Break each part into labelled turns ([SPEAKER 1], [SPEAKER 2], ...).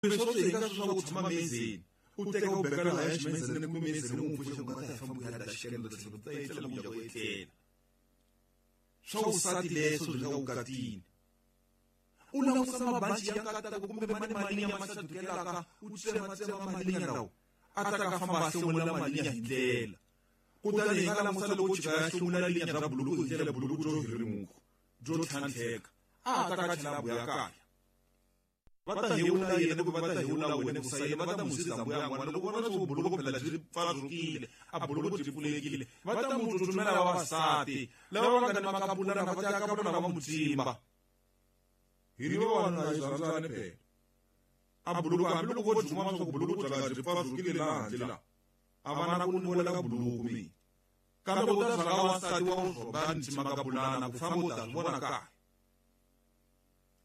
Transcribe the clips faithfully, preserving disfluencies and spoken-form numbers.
[SPEAKER 1] Leswi swi nga swa ku tshama mezeni u teka u beka laha ximezeni kumbe mezeni u n'wi pfuxa ku nga ta famba ku ya da xikendo tlhelo ta etlela ku ya ku etlela swa vusati leswo byi nga vukatini u langusa mabanci ya nkatako kumbe mani malinya ma xadukelaka u tsematsema malinya lawa a ta ka famba a hlomula malinya hi ndlela kutani hi nga langusa loko chika ya hlomula linya ra buluku hi ndlela buluku byo hirimuka byo tlhantlheka a ta ka chela buya kaya va ta hewula yena kumbe va ta hewula wena ku sayina va ta n'wi siza mbuya n'wana loko vona swo buluku phela byi pfazukile a buluku byi pfulekile va ta n'wi tsutsumela vavasati lava va nga ni makapulana va ta kapulana va n'wi tsimba hi ri vavanuna hi rhandzani phela a buluku hambiloko vo dzuma swa ku buluku bya nga byi pfazukile laha handle laha a va na ku nuwela ka buluku mina kambe u ta rhanga wansati wa rhoba ni makapulana ku famba u ta swi vona kaya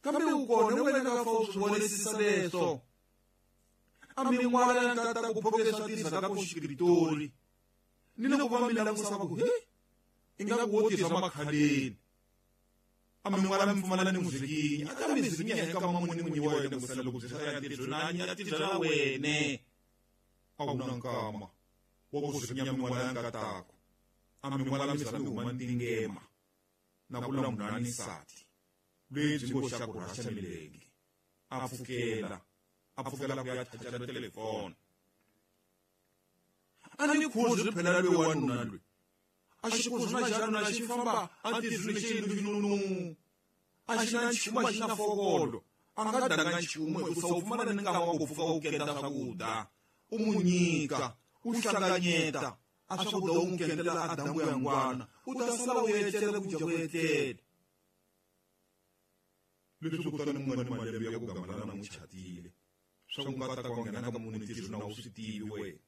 [SPEAKER 1] kambe u kona wena ka fa u swi vonisisa leswo a min'wala ya nkata ku phoke swa tirhisa ka ku xikritori ni loko va mi langusa va ku he ingaku wo tirhisa makhaleni a min'wala mi pfumala ni muzikinya a ta mi zikinya hi nkama muni n'winyi wa wena ku sala loko byi ya tirhisa na ya tirhela wene a wu na nkama wa ku zikinya min'wala ya nkatako a min'wala mi za mi huma ntingema na ku la munhu a ni nsati lebyi ngo xa ku rhaxa milenge a pfukela a pfukela ku ya chachela telefoni a ni khuzi phela loyi wanuna loyi a xi khuzi na xanuna xi famba a ntirhweni xi nunu a xi na nchumu a xi na fokolo a nga danga nchumu hikusa u pfumala ni nkama wa ku pfuka u kenda swakudya u mu nyika u hlanganyeta a swakudya u n'wi kendela a dambu ya ngwana u ta sala u etlela ku dya ku etlela leswi kutani mu nga ni malembe ya ku gamalana n'wi chatile swa ku nga ta ka nghena ka munhu ntirho na wu swi tivi wena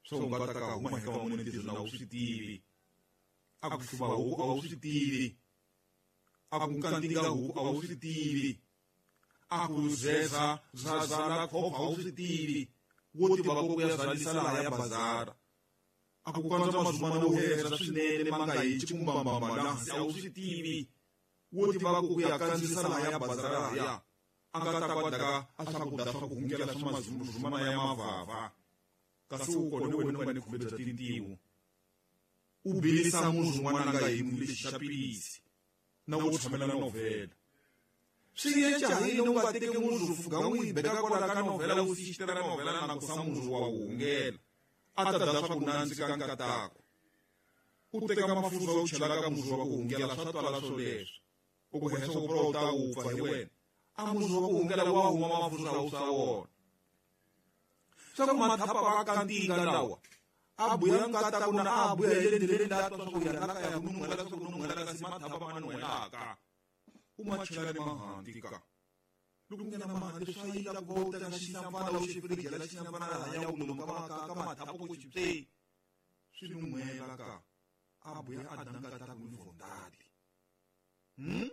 [SPEAKER 1] swa ku nga ta ka huma hi ka munhu ntirho na wu swi tivi a ku hluva huku a wu swi tivi a ku kantinga huku a wu swi tivi a ku zeza zazala khopha a wu swi tivi wo tiva ku ya zalisa laha ya bazara a ku kandza mazumana wo heza swinene ma nga hi chikumbambamba laha hansi a wu swi tivi wo tiva ku ya kandziyisa laha ya bazara ya a nga ta kwadaka a swakudya swa ku hungela swa mazumana ya mavava kasi u kona wena u nga ni khume bya tintiho u bilisa munhu un'wana nga hi lexi xa pilisi na wo tshamela novhela swi yenca yini u nga teki munhu fuga n'wi beka kwala ka novhela u sixitela novhela na ku sa munhu wa wu hungela a ta dya swa ku nandzika nkatako u teka mafurha u chela ka munhu wa ku hungela swa twala swoleswo u ku hesa ku u ta wupfa hi wena a munhu wa ku hungela wa huma mafurha wu swa wona swa ku mathapa va kantinga lawa a buya nkatako na a buya hi le ndleleni la twa swa ku ya la kaya ku nun'hwela swa ku nun'hwela kasi mathapa ma nun'hwelaka u ma chela ni mahanti ka loko nghena mahanti swa yila ku va u teka xinampfana u xi firijela xinampfana lahaya u lomu ka ka mathapa ku xipse swi nun'hwela ka a buya a da nkatako ni vondali hmm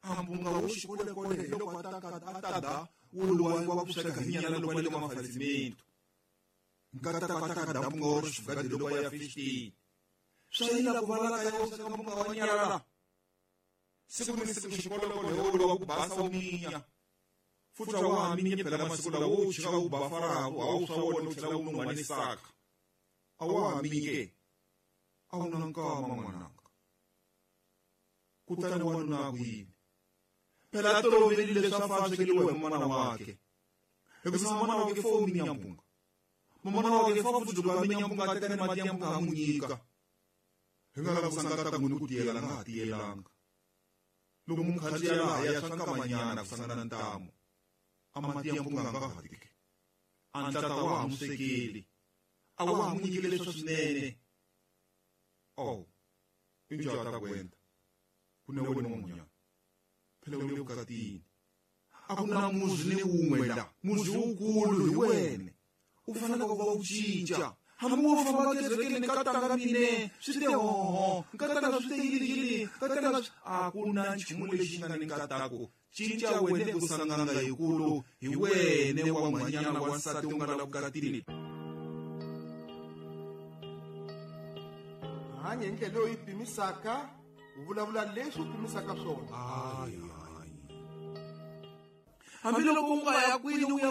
[SPEAKER 1] a mbunga wo xikolekole hi loko a ta a ta da wo luwa wa ku sweka hi nyala loko le ka mafalisimento nkatako a ta ka da mbunga wa xifugadi loko ya fifteen swa yila ku va la kaya u sweka mbunga wa nyala la siku ni siku xikolekole wo luwa ku basa wu minya futhi a wa ha minyi phela masiku lawa wo chika wu bafaraku a wu swa wona u tlhela wu nun'hwa ni saka a wa ha minyi ke a wu na nkama n'wananga kutani wanuna a ku yini phela a tolovelile leswi a fa swekeliwa hi mana wakhe hikusa mana wakhe fo u minya mpunga mamana wakhe fa futhi loko a minya mpunga a teka ni mati ya mpunga a n'wi nyika hi nga langusa nkatako ni ku tiyela nga ha tiyelanga loko mu khandziya laha ya swa nkamanyana ku sangana ntamu a mati ya mpunga nga ha tiki a ntlata wa ha n'wi swekeli a wa ha n'wi nyikile leswa swinene oh i njhani a ta ku endla ku ne wena n'wanyana phela u le vukatini a ku na muzi ni wun'we la muzi wukulu hi wena u fanele ku va u cinca hambi wo famba kerekeni nkatanga mine swi te hoho nkatanga swi te yini yini nkatanga a ku na nchumu lexi nga ni nkatako cinca wena ku sanganga hikulu hi wene wa n'hwanyana wa nsati u nga la vukatini
[SPEAKER 2] hanya hi ndlela leyi pimisaka u vulavula leswi u pimisaka swona
[SPEAKER 1] hayi hayi Hambiloko u nga ya kwini u ya